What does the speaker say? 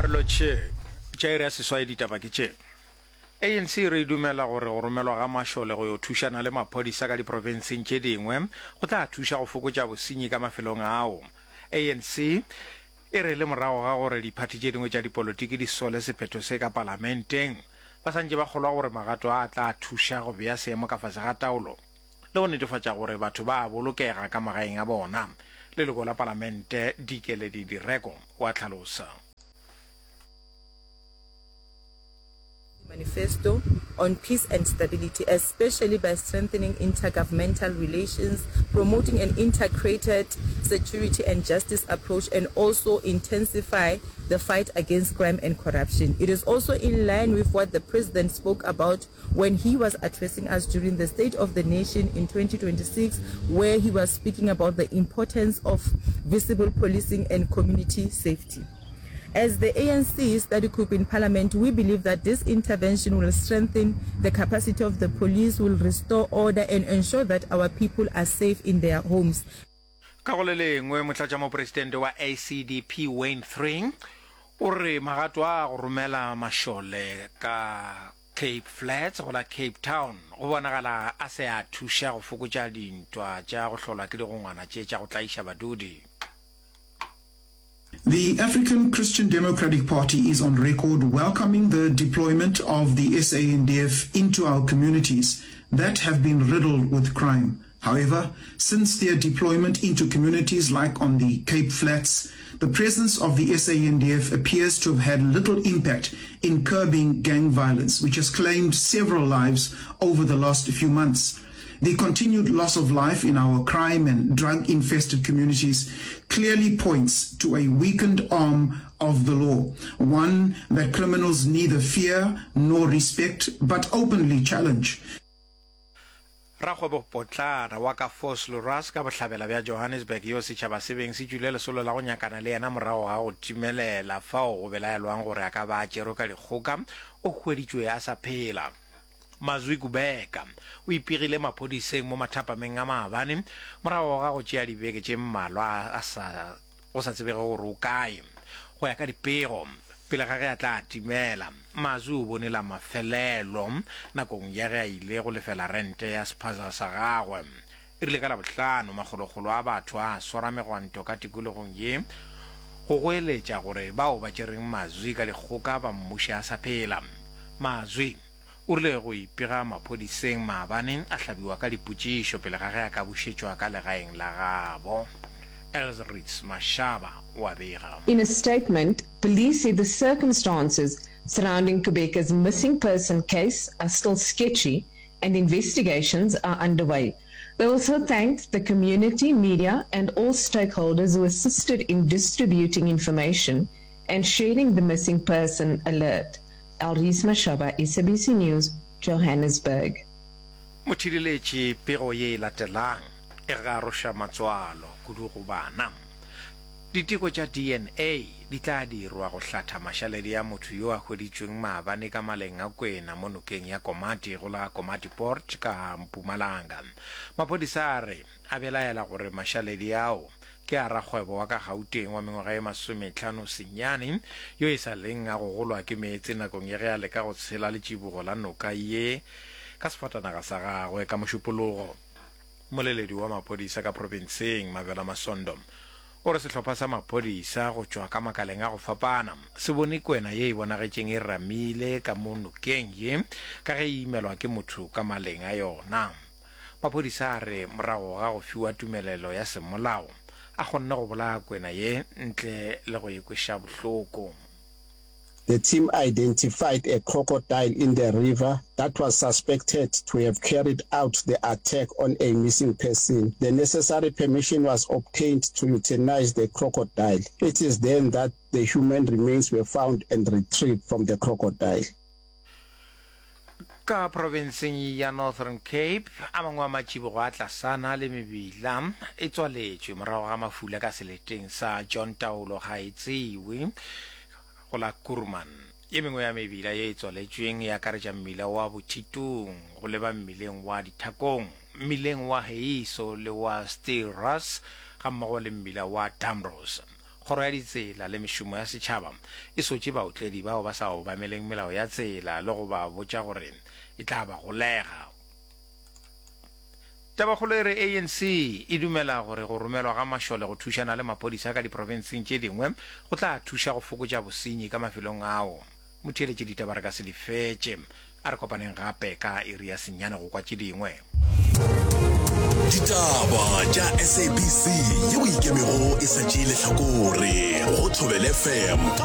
Re lotšhe tša iri ya seswai ditaba ke tše. ANC e re e dumela gore go romelwa ga mašole go yo thušana le maphodisa ka diprofenseng tše dingwe go tla thuša go fokotša bosenyi ka mafelong ao. ANC e re le morago ga gore diphathi tše dingwe tša dipolotiki di sole sephetho se ka palamenteng, ba santše ba kgolwa gore magato a a tla thuša go bea seemo ka fase ga taolo le go netefatša gore batho ba a bolokega ka magaeng a bona. Leloko la Palamente Dikeledi Direko o a hlalosa. Manifesto on Peace and Stability, especially by strengthening intergovernmental relations, promoting an integrated security and justice approach, and also intensify the fight against crime and corruption. It is also in line with what the President spoke about when he was addressing us during the State of the Nation in 2026, where he was speaking about the importance of visible policing and community safety. As the ANC study group in Parliament, we believe that this intervention will strengthen the capacity of the police, will restore order and ensure that our people are safe in their homes. Ka go le lengwe, Motlatšamopresidente wa ACDP Wayne Thring o re magato a go romela mašole ka Cape Flats go la Cape Town go bonagala a se a thuša go fokotša dintwa tša go hlolwa ke digongwana tše tša go tlaiša badudi. The African Christian Democratic Party is on record welcoming the deployment of the SANDF into our communities that have been riddled with crime. However, since their deployment into communities like on the Cape Flats, the presence of the SANDF appears to have had little impact in curbing gang violence, which has claimed several lives over the last few months. The continued loss of life in our crime and drug-infested communities clearly points to a weakened arm of the law, one that criminals neither fear nor respect but openly challenge. Rakgwebopotlana wa ka Vosloorus ka bohlabela bja Johannesburg yo setšhaba se beng se tšwile lesolo la go nyakana le yena morago ga go timelela fao go belaelwang gore a ka ba a tšerwe ka dikgoka, o hweditšwe a sa phela. Mazwi Kubeka o ipegile maphodiseng mo mathapameng a maabane morago ga go tšea dibeke tše mmalwa a sa go sa tsebege gore o kae. Go ya ka dipego, pele ga ge a tla timela, Mazwi o bone la mafelelo nakong ya ge a ile go lefela rente ya sephaza sa gagwe. E rile ka Labohlano, makgolokgolo a batho a swara megwanto ka tikologong ye go goeletša gore bao ba tšereng Mazwi ka dikgoka ba mmuše a sa phela. Mazwi o rile go ipega maphodiseng maabane a hlabiwa ka dipotšišo pele ga ge a ka bušetšwa ka legaeng la gabo. Elsritz Mashaba o a bega. In a statement, police said the circumstances surrounding Kubeka's missing person case are still sketchy and investigations are underway. They also thanked the community, media and all stakeholders who assisted in distributing information and sharing the missing person alert. Elries Mashaba, SABC News, Johannesburg. Mothireletši, Pego ye e latelang e garoša matswalo kudu go bana. Diteko tša DNA di tla dirwa go hlatha mašaledi a motho yo a hweditšweng maabane ka maleng a kwena mo nokeng ya Komati go la Komatipoort ka Mpumalanga. Maphodisa a re a belaela gore mašaledi ao ke a rakgwebo wa ka Gauteng wa mengwaga ye masometlhano senyane yo e sa leng a gogolwa ke meetse nakong ya ge a leka go tshela letšibogo la noka ye ka sefatanaga sa gagwe ka Mošupologo. Mmoleledi wa maphodisa ka profenseng, Mavela Masondo, o re sehlopha sa maphodisa go tšwa ka makaleng a go fapana se bone kwena ye e bonagetšeng e ramile ka mo nokeng ye ka ge e imelwa ke motho ka maleng a yona. Maphodisa a re morago ga go fiwa tumelelo ya semolao, a kgonne go bolaya kwena ye ntle le go e kweša bohloko. The team identified a crocodile in the river that was suspected to have carried out the attack on a missing person. The necessary permission was obtained to euthanize the crocodile. It is then that the human remains were found and retrieved from the crocodile. Ka profenseng ya Northern Cape, a mangwe a matšibogo a tlasana le mebila e tswaletšwe morago ga mafula ka seleteng sa John Taolo Gaetsewe go la Kuruman. Ye mengwe ya mebila ye e tswaletšweng e akaretša mmila wa Bothitong go leba mmileng wa Dithakong, mmileng wa Heiso le wa Steelras gammogo le mmila wa Damrose. Kgoro ya Ditsela le Mešomo ya Setšhaba e sotše baotledi bao ba sa obameleng melao ya tsela le go ba botša gore e tla ba golega. Tabakgolo e re ANC e dumela gore go romelwa ga mašole go thušana le maphodisa ka diprofenseng tše dingwe go tla thuša go fokotša bosenyi ka mafelong ao. Motheeletši ditaba re ka se di fetše. A re kopaneng gape ka iri ya senyane go kwa tše dingwe. Ditaba tša SABC yeo ikemego e sa tšee lehlakore go Thobela FM ka.